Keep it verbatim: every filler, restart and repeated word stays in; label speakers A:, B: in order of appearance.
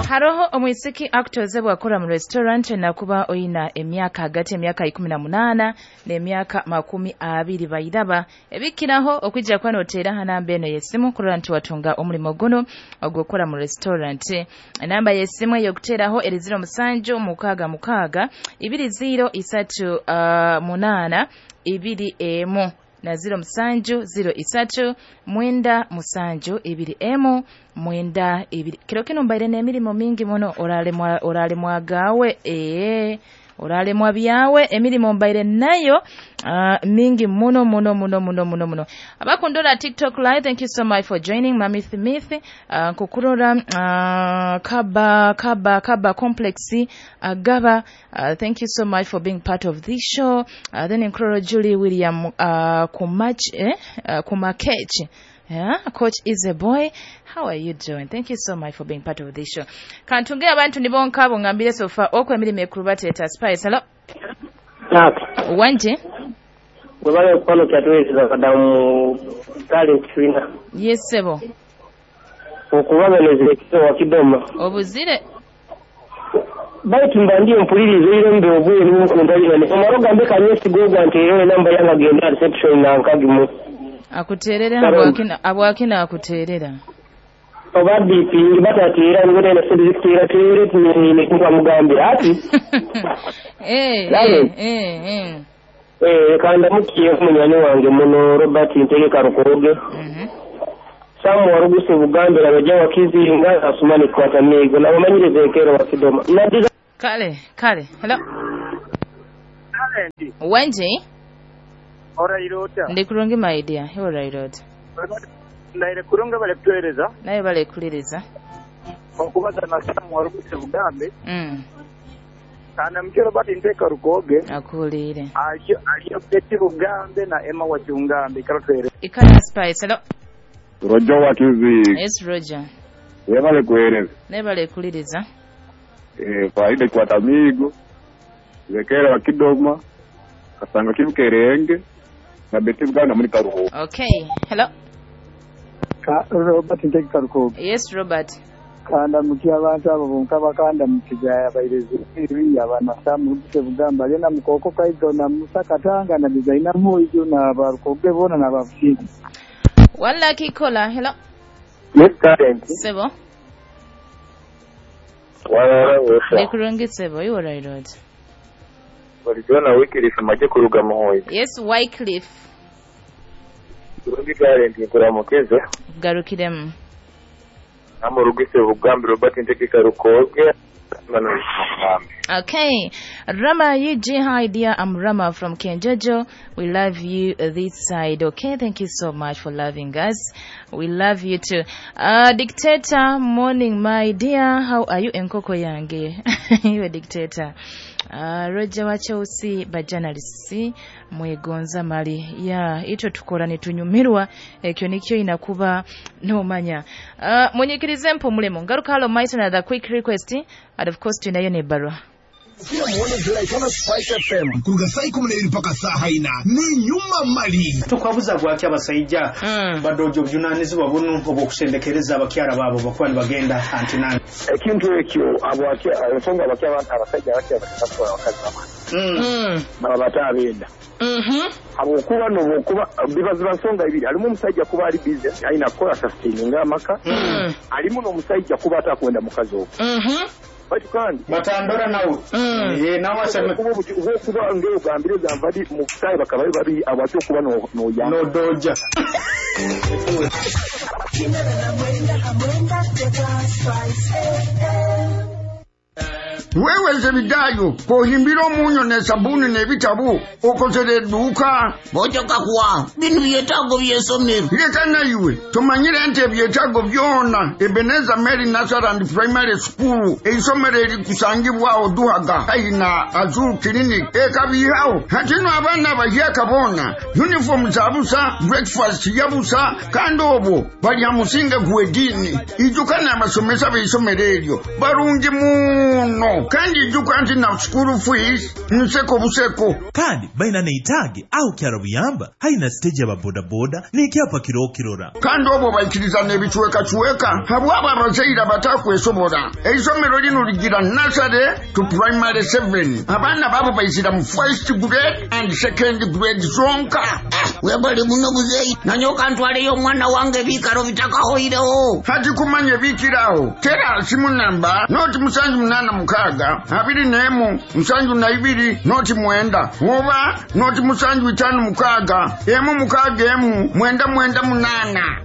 A: Haroho omwisiki akutozebwa akora mu restaurant nakuba oyina emyaka hagati emyaka ikumi na munaana n'emyaka makumi abiri bairaba ebikiraho okwijja kuba noteera ha namba eno y'essimu kurora nti watunga omulimo guno ogw'okukora mu restaurant. Enamba y'essimu ey'okuteeraho eri ziro musanju mukaaga mukaaga ibiri ziro isatu uh, munaana ibiri emu na ziro musanju ziro isatu mwenda musanju ibiri emu mwenda ibiri. Kiro kino mbaire n'emirimo mingi muno, oralemwa oralemwa gawe ee oralemwa byawe, emirimo mbaire nayo uh, mingi muno muno muno muno muno muno. Abakundora TikTok live, thank you so much for joining. Mami Smith uh, nkukurora uh, kaba kaba kaba complex agaba uh, thank you so much for being part of this show. Uh, then nkurora Julie William uh, kumach eh uh, kumakech. Yeah, coach is a boy. How are you doing? Thank you so much for being part of this show. Kantunge abantu nibonka abo ngambire sofa okwe emirimo ekuru bateeta Spice. Hello.
B: Tata.
A: Wanje?
B: Webale kwano kyatuweereza kadamu talent twina.
A: Yes sebo.
B: Okubaganizira ekiro wakidoma.
A: Obuzire.
B: Baitu mba ndiye mpuliriza irembe obweru nkuntalira. Omaro gambe kanyesi gogwa nti era enamba yange agenda reception na nkagimu.
A: Akuterera abwakina abwakina akuterera.
B: Oba D P batatira ngene na sendikira tere ni kwa mugambira ati.
A: Eh eh eh eh.
B: Eh kanda mukiye munyani wange muno Robert Ntege Karukoge.
A: Mhm.
B: Samu waruguse Buganda abajja wakizinga asumani kwata migo na bamanyirize kero wakidoma. Nadiza
A: Kale kale. Hello.
C: Kale.
A: Wanje?
C: Ora irota.
A: Ndi kurungi my dear. Ora irota.
C: Ndaire kurunga bale kutueleza.
A: Naye bale kuliriza.
C: Okubaza na Samu waruguse Bugambe.
A: Mm.
C: Kana mkero bati nteka Rukoge.
A: Akulire.
C: Aliyo aliyo Betty Bugambe na Emma Wachungambe karotwere.
A: Ikala Spice. Hello.
D: Roger wakizi.
A: Yes Roger.
D: Yebale kueleza.
A: Naye bale kuliriza.
D: Eh faida kwa tamigo. Lekera wakidoma. Kasanga kibukerenge. Na Betty Buganda muri Karuho.
A: Okay. Hello.
E: Ka Robert Ntege Karukoge.
A: Yes Robert.
E: Kanda mukia abantu abo bonka bakanda mukijaya bairezi eri abana Samu Ruguse Bugamba alina mukoko kaizo na Musa Katanga na designer Moijo na Barukoge bona na bafushindi.
A: Wala kikola. Hello.
B: Yes current.
A: Sebo.
F: Wala wesa.
A: Ndikurungi sebo you right road.
F: Walijona Wycliffe maje kuruga muhoyi.
A: Yes Wycliffe.
F: Kurungi current nkuramukeze.
A: Garukiremu.
F: Amurugise Bugambe Robert Ntege Karukoge.
A: Okay. Rama U G, hi dear, I'm Rama from Kenjojo. We love you this side. Okay, thank you so much for loving us. We love you too. Uh, dictator, morning my dear. How are you? Enkoko yange. You a dictator. Uh, Roger wa Chelsea ba journalists mwegonza mali ya ito tukora nitunyumirwa ekyo nikyo inakuba nomanya. Uh, munyikirize mpumulemo ngaruka halo maito na the quick request and of course tunayo ne barua
G: Kila muone Zilaikana Spice F M kuruga saa ikumi n'ebiri mpaka saa haina ni nyuma mali
H: tukwabuza gwaki abasajja
A: mm.
H: badojo obuvunanyizibwa buno obw'okusendekereza abakyala baabo bakuba nibagenda antinani
F: ekintu ekyo abwaki ensonga abaki abantu abasajja abaki abataka abakazi baba
A: mm.
F: baba batabenda
A: mhm
F: habwokuba nobwokuba bibaziba nsonga ibiri alimu omusajja kuba ali busy alina kukola sustaining amaka
A: mm.
F: alimu n'omusajja kuba atakwenda mukazi ogwo
A: mhm
F: batu kandi
H: batandora nawe
A: mm.
H: eh nawe aseme
F: kuba kuba ngeo gambire zamvadi mu sai bakabaye babi abacho kuba no no ya
H: no doja
G: Wewe Zebidayo kohimbira omunyo ne sabuni n'ebitabo okozere edduuka
I: bojoka kuwa bino byetaago by'essomero
G: leka nayiwe tumanyire nti ebyetaago byona Ebenezer Mary Nursery and Primary School eisomero erikusangibwawo Duhaga haina Azul Clinic ekabihawo hatino abaana bahyaka boona uniform zabusa breakfast yabusa kandi obwo balya musinge gw'eddiini ijuka n'abasomesa b'eisomero eryo barungi muno Kandi ijuka nti na school fees nseko buseko.
J: Kandi baina neitaage aho kyarabuyamba haina stage aba bodaboda n'ekyapa kirokirora.
G: Kandi obwo baikiriza n'ebicwekacweka habwabo abazaire abatakwesobora. Eisomero lino ligira nursery to primary seven. Abaana babo baizira mu first grade and second grade zonka.
I: Webale muno muzeeyi, nanyoka ntwaleyo omwana wange ebiikaro bitakahoireho.
G: Hati kumanya ebiikiraho tera simu namba noti musanju munana mukaaga abiri n'emu musanju na ibiri noti mwenda oba noti musanju itaano mukaaga emu mukaaga emu mwenda mwenda munana.